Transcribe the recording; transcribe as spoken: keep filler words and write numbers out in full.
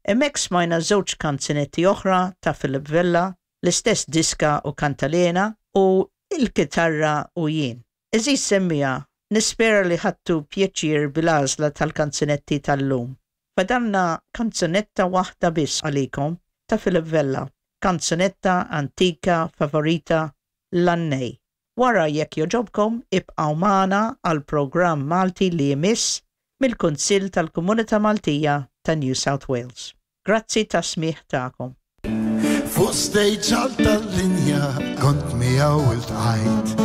Hemmhekk smajna żewġ kanzunetti oħra ta' Philip Vella, l-istess diska u kantalena u il-kitarra u jien. Għeżież semmiegħa, nispera li ħadtu pjaċir bil-għażla tal-kanzunetti tal-lum. Fadalna kanzunetta waħda biss għalikom ta' Philip Vella, kanzunetta antika favorita l-Għannej. Wara jekk jogħġobkom ibqgħu magħna għal programm Malti li jmiss mill-Kunsill tal-Komunità Maltija ta' New South Wales. Grazzi tas-smigħ tagħkom. Fuq stage għal tal-linja kont miegħu iltqajt.